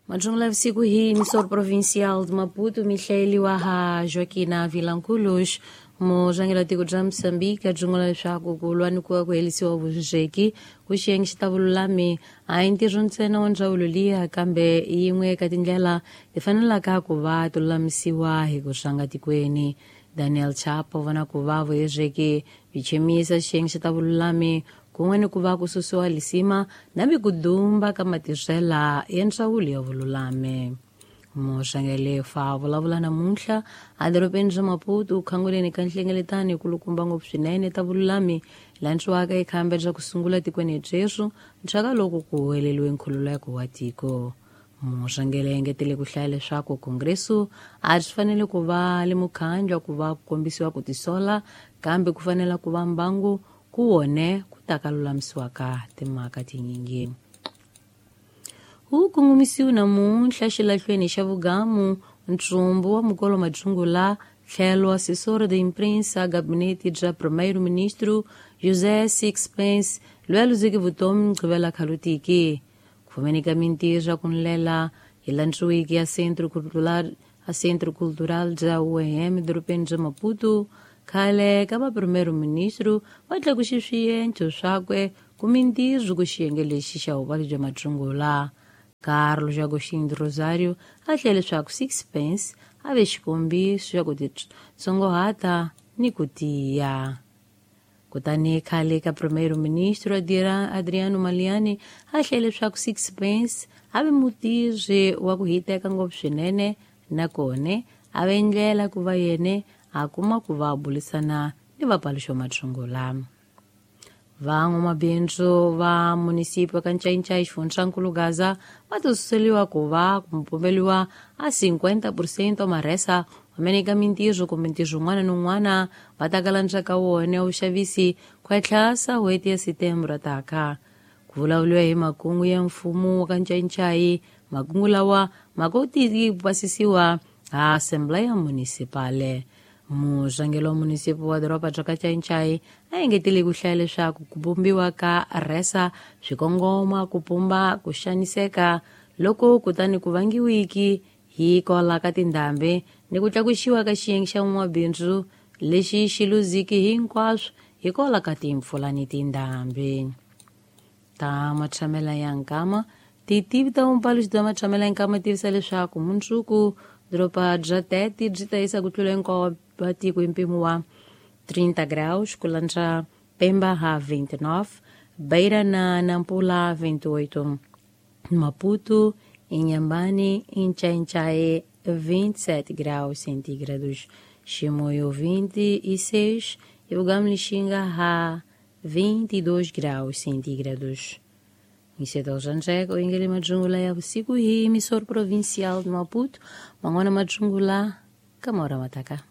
Majungula vusiku hi emissor provincial de Maputo, mihlayeliwa ha Joaquina Vilanculos. Murhangeri wa tiko bya Mozambique a byungula leswaku ku lwa ni ku va ku herisiwa vuzeki ku xiyenge xi ta vululami a hi ntirho ntsena wa ndzawulo liya, kambe yin'we eka tindlela ti fanelaka ku va ti lulamisiwa hi ku rhanga tikweni. Daniel Chapo vona ku va vuhezeki byi chemisa xiyenge xi ta vululami kun'we ni ku va ku susiwa lisima na mikudumba ka matirhela ya ndzawulo ya vululami. Murhangeri fa vulavula namuntlha edorobeni ra Maputo khanguleni ka nhlengeletano yikulukumba ngopfu swinene ta vululami landziwaka ekhamba bya ku sungula tikweni byeswo ndzhaka loko ku huweleliwe nkhululeko wa tiko. Murhangeri engetele ku hlaya leswaku kongreso a swi fanele ku va le mukhandlu ku va ku kombisiwa ku tisola, kambe ku fanela ku va mbangu ku wone ku ta ka lulamisiwaka timhaka tinyingi. Wu kongomisiwe namuntlha xilahlweni xa vugamu ntsumbu wa mukolo Majungula tlhelo assessor de imprensa gabinete bya primeiro-ministro José Sixpence loyi a luzeke vutomi Mugqivela khalutiki. Ku fumeni ka mintirho ya ku ndlela hi landziwiki ya Centro Cultural a Centro Cultural bya UEM edorobeni bya Maputo, khale ka va primeiro-ministro va tlakuxe swiendlo swakwe ku mintirho ku xiyenge lexi xa vuvabyi bya Majungula. Carlos Agostinho Rosário a hlaya leswaku Sixpence a ve xikombiso xa ku titsongohata ni ku tiya. Kutani khale ka primeiro-ministro Adriano Maleiane a hlaya leswaku Sixpence a ve mutirhi wa ku hiteka ngopfu swinene, nakona a ve ndlela ku va yena a kuma ku va burisana ni vapaluxi va Majungula. Van'wamabindzu va munisipi ka Ncayincai xifundzankulu Gaza va tisuseliwa ku va ku pumbeliwa a 50% marhesa wamene ka mintirho kumbe ntirho wun'wana ni wun'wana va ta kala ndzhaka wona vuxavisi ku etlhasa n'hweti ya Setembro taka. Ku vulavuriwa hi makungu ya mfumo wa ka Ncayincai, makungu lawa ma kotiki ku pasisiwa ha Assembleia Municipal. Murhangeri wa munisipi wa doroba bya ka Ncayincai a engetele ku hlaya leswaku ku vumbiwa ka rhesa swi kongoma ku pumba ku xaniseka loko kutani ku vangiwiki hi kwala ka tindhambi ni ku tlakusiwa ka xiyenge xa n'wamabindzu lexi xi luziki hinkwaswo hi kwala ka timpfula ni tindhambi. Ta matshamela ya nkama titivi ta vumpaluxi bya matshamela ya nkama tivisa leswaku mundzuku doroba bya Tete byi ta yisa ku tlula hinkwawo wa tiko hi mpimo wa 30 graus, ku landza Pemba ha 29, Beira na Nampula 28, Maputo, Inhambane e Ncaincae 27 graus centígrados, Chimoio 26 e Bugamo Lixinga ha 22 graus centígrados. Micedol Janjego, Ingele Majungula ya vusiku hi emissor provincial de Maputo, Mangona Majungula, Camora Mataka.